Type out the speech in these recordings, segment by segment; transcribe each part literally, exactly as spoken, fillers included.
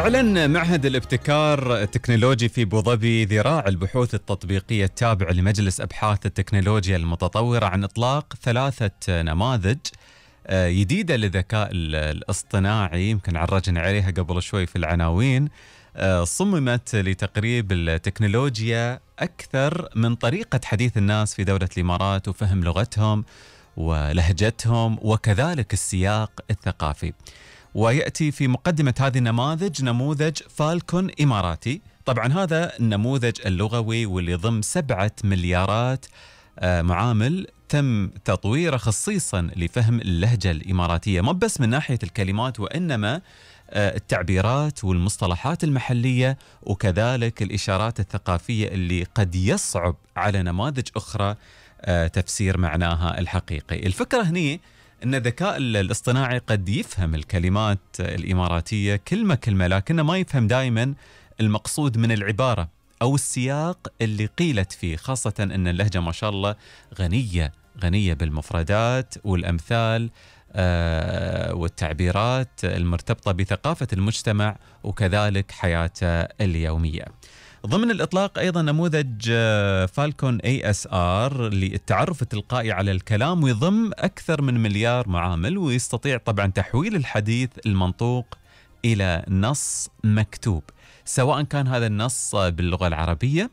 أعلن معهد الابتكار التكنولوجي في أبوظبي ذراع البحوث التطبيقية التابع لمجلس أبحاث التكنولوجيا المتطورة عن إطلاق ثلاثة نماذج جديدة للذكاء الاصطناعي. يمكن عرجنا عليها قبل شوي في العناوين. صممت لتقريب التكنولوجيا أكثر من طريقة حديث الناس في دولة الإمارات وفهم لغتهم ولهجتهم وكذلك السياق الثقافي. ويأتي في مقدمة هذه النماذج نموذج فالكون إماراتي. طبعا هذا النموذج اللغوي واللي ضم سبعة مليارات معامل تم تطويره خصيصا لفهم اللهجة الإماراتية، ما بس من ناحية الكلمات وإنما التعبيرات والمصطلحات المحلية وكذلك الإشارات الثقافية اللي قد يصعب على نماذج أخرى تفسير معناها الحقيقي. الفكرة هني أن الذكاء الاصطناعي قد يفهم الكلمات الإماراتية كلمة كلمة، لكنه ما يفهم دائما المقصود من العبارة أو السياق اللي قيلت فيه، خاصة أن اللهجة ما شاء الله غنية غنية بالمفردات والأمثال آه والتعبيرات المرتبطة بثقافة المجتمع وكذلك حياته اليومية. ضمن الإطلاق أيضا نموذج فالكون اي اس ار للتعرف التلقائي على الكلام، ويضم أكثر من مليار معامل، ويستطيع طبعا تحويل الحديث المنطوق إلى نص مكتوب، سواء كان هذا النص باللغة العربية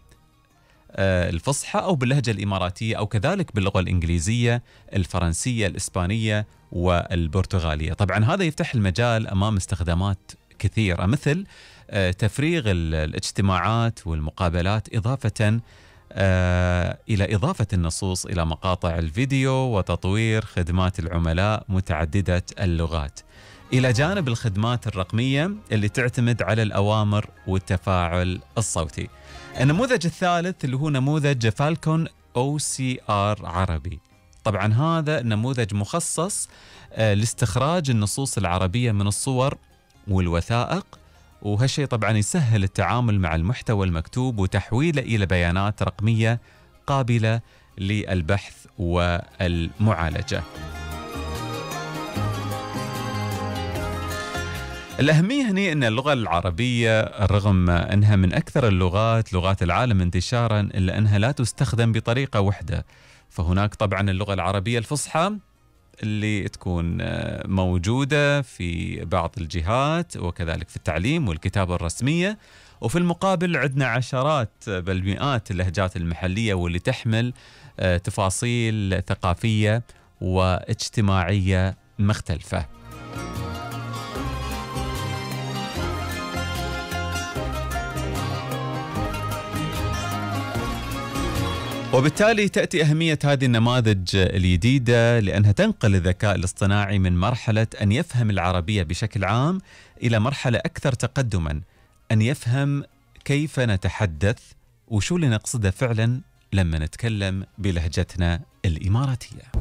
الفصحى أو باللهجة الإماراتية أو كذلك باللغة الإنجليزية، الفرنسية، الإسبانية والبرتغالية. طبعا هذا يفتح المجال أمام استخدامات كثيرة مثل تفريغ الاجتماعات والمقابلات، إضافة إلى إضافة النصوص إلى مقاطع الفيديو، وتطوير خدمات العملاء متعددة اللغات، إلى جانب الخدمات الرقمية اللي تعتمد على الأوامر والتفاعل الصوتي. النموذج الثالث اللي هو نموذج فالكون او سي ار عربي. طبعا هذا نموذج مخصص لاستخراج النصوص العربية من الصور والوثائق، وهالشيء طبعا يسهل التعامل مع المحتوى المكتوب وتحويله إلى بيانات رقمية قابلة للبحث والمعالجة. الأهمية هنا أن اللغة العربية رغم أنها من أكثر اللغات لغات العالم انتشارا إلا أنها لا تستخدم بطريقة واحدة. فهناك طبعا اللغة العربية الفصحى اللي تكون موجودة في بعض الجهات وكذلك في التعليم والكتابة الرسمية، وفي المقابل عندنا عشرات بل مئات اللهجات المحلية واللي تحمل تفاصيل ثقافية واجتماعية مختلفة. وبالتالي تأتي أهمية هذه النماذج الجديدة لأنها تنقل الذكاء الاصطناعي من مرحلة أن يفهم العربية بشكل عام إلى مرحلة أكثر تقدما، أن يفهم كيف نتحدث وشو اللي نقصده فعلا لما نتكلم بلهجتنا الإماراتية.